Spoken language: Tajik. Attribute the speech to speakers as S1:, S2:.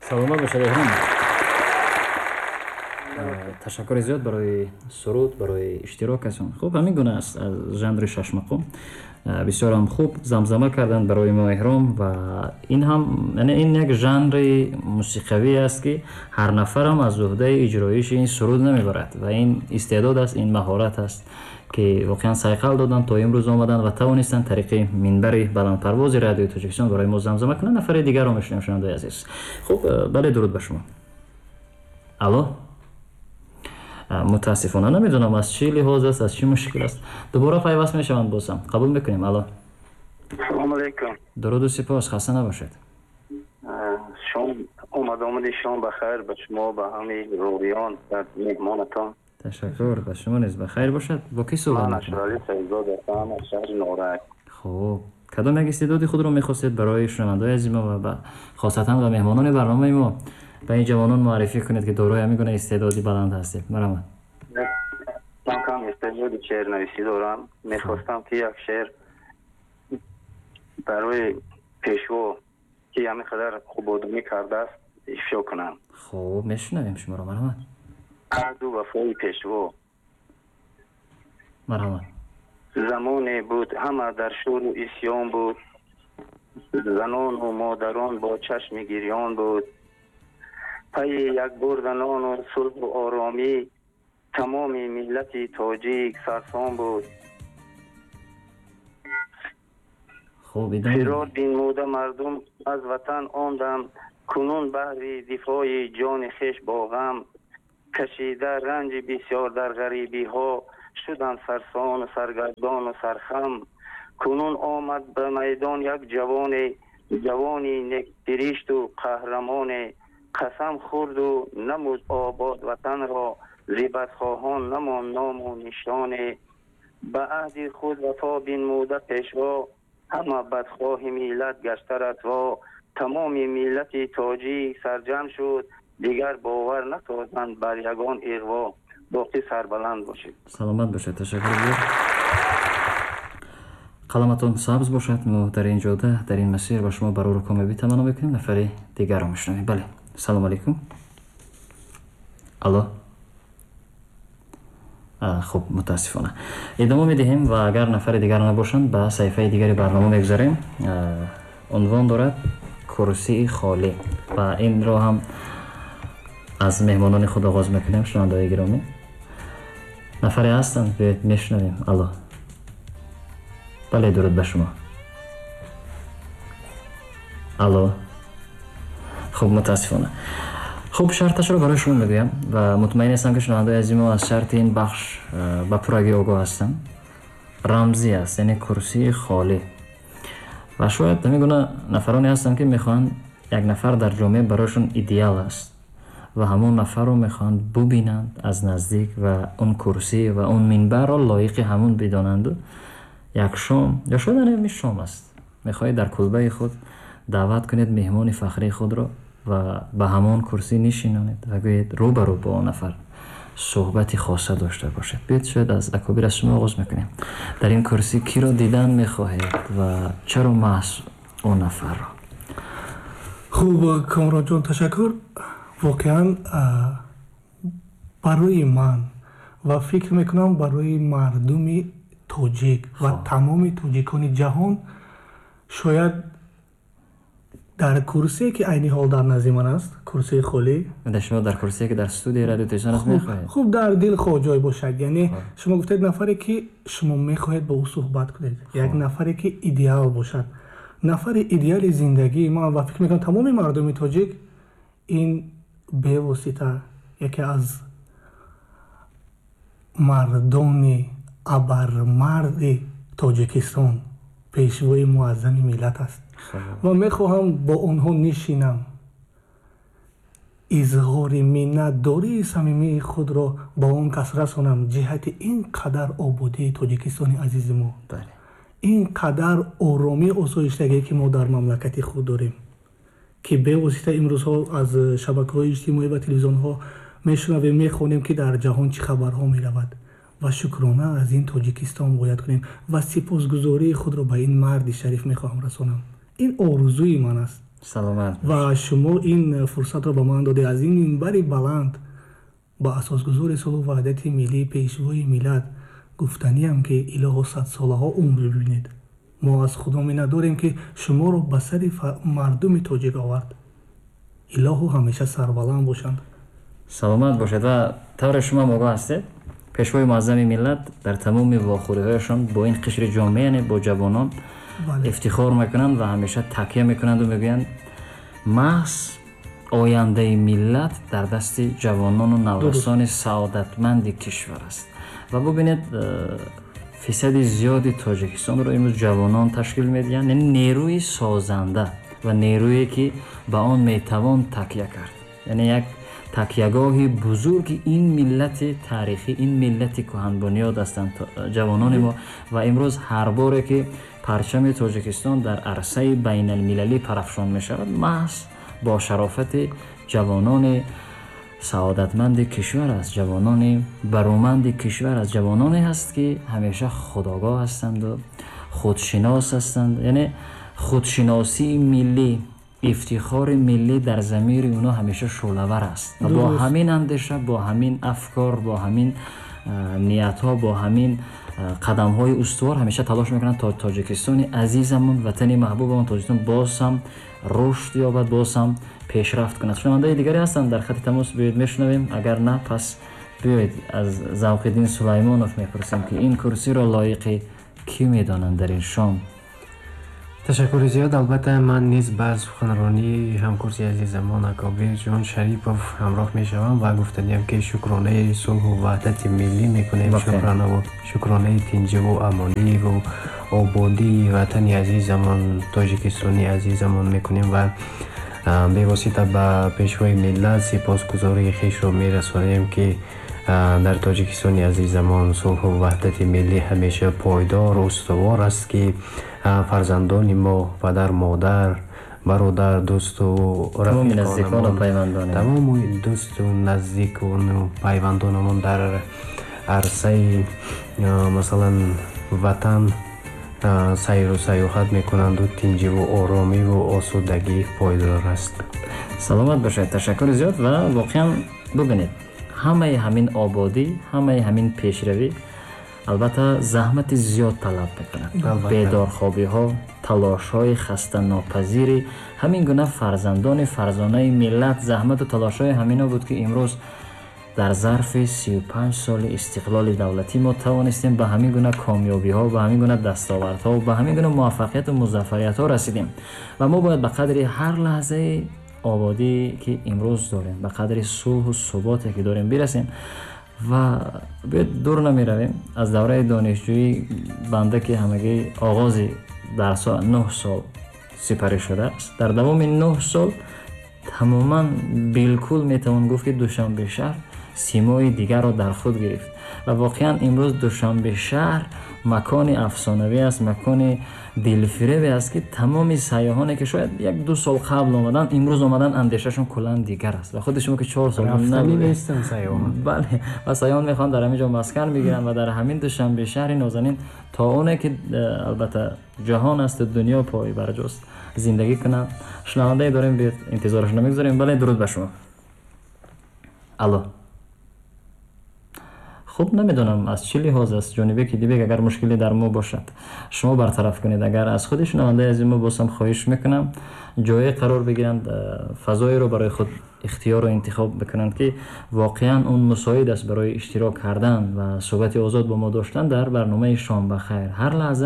S1: Саломат бошед, Эҳром. Ташаккури зиёд барои суруд, барои иштирокатон. Хуб, ҳамин гуна аст аз жанри шашмақом. Бисёрам хуб замзама карданд барои мо Эҳром, ва ин ҳам, яъне ин як жанри мусиқавӣ аст, ки ҳар нафарам аз уҳдаи иҷроиши ин суруд намебарад, ва ин истеъдод аст, ин маҳорат аст, ки воқеан сайқал доданд, то имрӯз омаданд ва тавонистанд тариқи минбари баландпарвози Радиои Тоҷикистон барои мо замзама кунанд. Нафари дигарро мешунавем, шунавандаи азиз. Хуб, бале, дуруд ба шумо. Алло. Мутаассифона намедонам, аз чӣ лиҳоз аст, аз чӣ мушкил аст. Дубора пайваст мешаванд, бозам қабул мекунем. Алло.
S2: Салому алайкум.
S1: Дуруду сипос, хаста набошед.
S2: Шом омад, омади шом ба хайр ба шумо, ба ҳамаи ровиён ва меҳмонатон.
S1: Ташаккур, ба шумо низ ба хайр бошад. Бо кӣ суҳбат
S2: Ман
S1: мекунем?
S2: Ашрали Саидзод ҳастам аз шаҳри Норак.
S1: Хуб, кадом як истеъдоди худро мехостед барои шунавандаои азизи мо ва хосатан ба меҳмонони барномаи мо, ба ин ҷавонон муаррифӣ кунед, ки дорои ҳамин гуна истеъдоди баланд ҳастед? Марҳамат.
S2: Ман кам истеъдоди шеърнависӣ дорам. Мехостам, ки як шеър барои Пешво, ки ҳамин қадар хубодумӣ кардааст, ифшо кунам.
S1: Хуб, мешунавем шуморо, марҳамат.
S2: Аҳду вафои Пешво.
S1: Марҳамат.
S2: Замоне буд, ҳама дар шӯру исьён буд, занону модарон бо чашми гирён буд. Пайи як бурданону сулҳу оромӣ тамоми миллати тоҷик сарсон буд.
S1: Хуб, идома.
S2: Фирор бинмуда мардум аз ватан он дам, кунун баҳри дифои ҷони хеш бо ғам кашида, ранҷи бисёр дар ғарибиҳо шуданд сарсону саргардону сархам. Кунун омад ба майдон як ҷавоне, ҷавони некдиришту қаҳрамоне, қасам хӯрду намуд обод ватанро, зи бадхоҳон намонд ному нишоне. Ба аҳди худ вафо бинмуда Пешво, ҳама бадхоҳи миллат гашта расво. Тамоми миллати тоҷик сарҷамъ шуд, дигар бовар насозанд бар ягон иғво. Боқӣ сарбаланд бошед.
S1: Саломат бошед, ташаккур зиёд. Қаламатон сабз бошад. Мо дар ин ҷода, дар ин масир ба шумо барору комёбӣ таманно мекунем. Нафари дигарро мешунавем. Бале, салому алайкум. Алло. Хуб, мутаассифона идома медиҳем, ва агар нафари дигар набошанд, ба саҳифаи дигари барнома мегузарем. Унвон дорад «Курсии холӣ», ва инро ҳам аз меҳмонони худ оғоз мекунем. Шунавандаои гиромӣ, нафаре ҳастанд? Биёед, мешунавем. Алло, бале, дуруд ба шумо. Алло. Хуб, мутаассифона. Хуб, шарташро барои шумо мегӯям, ва мутмаин ҳастам, ки шунавандаои азизи мо аз шарти ин бахш ба пуррагӣ огоҳ ҳастанд. Рамзӣ аст, яъне курсии холӣ, ва шояд ҳамин гуна нафароне ҳастанд, ки мехоҳанд як нафар дар ҷомеа барояшон идеал аст ва ҳамон нафарро мехоҳанд бубинанд аз наздик, ва он курсӣ ва он минбарро лоиқи ҳамон бидонанду як шом, ё шояд ҳамин шом аст, мехоҳед дар кулбаи худ даъват кунед меҳмони фахрии худро ва ба ҳамон курсӣ нишинонед ва гӯед, рӯ ба рӯ бо он нафар суҳбати хоса дошта бошед. Биёед, шояд аз акобир, аз шумо оғоз мекунем. Дар ин курсӣ киро дидан мехоҳед ва чаро маҳз он нафарро?
S3: Хуб, Комронҷон, ташаккур. Воқеан, барои ман ва фикр мекунам, барои мардуми тоҷик ва тамоми тоҷикони ҷаҳон, шояд дар курсие, ки айни ҳол дар назди ман аст, курсии холӣ.
S1: Шумо дар курсие, ки дар студияи Радио Тоҷикистон аст, мехоҳед?
S3: Хуб, дар дилхоҳ ҷой бошад. Яъне шумо гуфтед нафаре, ки шумо мехоҳед бо ӯ суҳбат кунед, як нафаре, ки идеал бошад. Нафари идеали зиндагии ман ва фикр мекунам, тамоми мардуми тоҷик, ин бевосита яке аз мардони абармарди Тоҷикистон, Пешвои муаззами миллат аст, ва мехоҳам бо онҳо нишинам, изҳори миннатдории самимии худро ба он кас расонам ҷиҳати ин қадар ободии Тоҷикистони азизи мо, ин қадар оромӣ, осоиштагие, ки мо дар мамлакати худ дорем, ки бевосита имрӯзҳо аз шабакаҳои иҷтимоӣ ва телевизионҳо мешунавем, мехонем, ки дар ҷаҳон чӣ хабарҳо меравад. Ва шукрона аз ин Тоҷикистон бояд кунем ва сипосгузории худро ба ин марди шариф мехоҳам расонам. Ин орзуи ман аст.
S1: Саломат.
S3: Ва шумо ин фурсатро ба ман додед, аз ин минбари баланд ба асосгузори сулҳу ваҳдати миллӣ, пешвои миллат гуфтаниам, ки илоҳо садсолаҳо умр бибинед. Мо аз Худо миннатдорем, ки шуморо ба сари мардуми тоҷик овард. Илоҳу ҳамеша сарбаланд бошанд.
S1: Саломат бошед. Ва тавре шумо ҳам огоҳ ҳастед, пешвои муаззами миллат дар тамоми вохӯриҳояшон бо ин қишри ҷомеа, яъне бо ҷавонон, ифтихор мекунанд ва ҳамеша такя мекунанду мегӯянд, маҳз ояндаи миллат дар дасти ҷавонону наврасони саодатманди кишвар аст. Ва бубинед, фисади зиёди Тоҷикистонро имрӯз ҷавонон ташкил медиҳанд, яъне нерӯи созанда ва нерӯе, ки ба он метавон такя кард, яъне як такягоҳи бузурги ин миллати таърихӣ, ин миллати кӯҳанбунёд ҳастанд ҷавонони мо. Ва имрӯз ҳар боре ки парчами Тоҷикистон дар арсаи байналмилалӣ парафшон мешавад, маҳз бо шарофати ҷавонони саодатманди кишвар аст, ҷавонони бароманди кишвар аст, ҷавононе ҳаст, ки ҳамеша худогоҳ ҳастанду худшинос ҳастанд, яъне худшиносии миллӣ, ифтихори миллӣ дар замири онҳо ҳамеша шӯълавар аст. Ва бо ҳамин андеша, бо ҳамин афкор, бо ҳамин ниятҳо, бо ҳамин қадамҳои устувор ҳамеша талош мекунанд, то Тоҷикистони азизамон, ватани маҳбубамон Тоҷикистон боз ҳам рушд ёбад, боз ҳам пешрафт кунад. Шунавандаи дигаре ҳастанд дар хати тамос, биёед мешунавем. Агар на, пас биёед аз Завқиддин Сулаймонов мепурсем, ки ин курсиро лоиқи кӣ медонанд дар ин шом.
S4: Ташаккури зиёд. Албатта, ман низ ба суханронии ҳамкурси азизамон Акобирҷон Шарипов ҳамроҳ мешавам ва гуфтаниям, ки шукронаи сулҳу ваҳдати миллӣ мекунем, шукронаи тинҷиву амониву ободии ватани азизамон, Тоҷикистони азизамон мекунем ва бевосита ба пешвои миллат сипосгузории хешро мерасонем, ки дар Тоҷикистони азизамон сулҳу ваҳдати миллӣ ҳамеша пойдор, устувор аст, ки фарзандони мо, падар, модар, бародар, дӯсту рафиқонамон, тамоми дӯсту наздикону пайвандонамон дар арсаи, масалан, ватан сайру сайёҳат мекунанду тинҷиву оромиву осудагӣ пойдор аст.
S1: Саломат бошед, ташаккури зиёд. Ва воқеан бубинед, ҳамаи ҳамин ободӣ, ҳамаи ҳамин пешравӣ албатта заҳмати зиёд талаб мекунад. Бедорхобиҳо, талошҳои хастанопазири ҳамин гуна фарзандони фарзонаи миллат, заҳмату талошҳои ҳамино буд, ки имрӯз дар зарфи 35 соли истиқлоли давлатӣ мо тавонистем ба ҳамин гуна комёбиҳо, ба ҳамин гуна дастовардҳо, ба ҳамин гуна муваффақияту музаффариятҳо расидем. Ва мо бояд ба қадри ҳар лаҳзаи ободӣ, ки имрӯз дорем, ба қадри сулҳу суботе, ки дорем, бирасем. Ва биёед дур намеравем, аз давраи донишҷӯӣ банда, ки ҳамагӣ оғози дарсҳо 9 сол сипарӣ шудааст, дар давоми 9 сол тамоман билкул метавон гуфт, ки Душанбе шаҳр симои дигарро дар худ гирифт. Ва воқеан имрӯз Душанбе шаҳр макони афсонавӣ аст, макони дилфиребе аст, ки тамоми сайёҳоне, ки шояд як ду сол қабл омаданд, имрӯз омадан андешашон куллан дигар аст. Ва худи шумо, ки 4 сол, бале, ва сайёҳон мехоҳанд дар ҳамин ҷо маскан бигиранд ва дар ҳамин Душанбе шаҳри нозанин то оне ки албатта ҷаҳон асту дунё пойбарҷост зиндагӣ кунанд. Шунавандае дорем, биёед интизорашро мегузорем. Бале, дуруд ба шумо. Алло. Хуб, намедонам, аз чӣ лиҳоз аст. Ҷонибеки Дибек, агар мушкиле дар мо бошад, шумо бартараф кунед. Агар аз худи шунавандаи азизи мо боз ҳам хоҳиш мекунам, ҷое қарор бигиранд, фазоеро барои худ ихтиёру интихоб бикунанд, ки воқеан он мусоид аст барои иштирок кардан ва суҳбати озод бо мо доштан дар барномаи «Шом ба хайр». Ҳар лаҳза.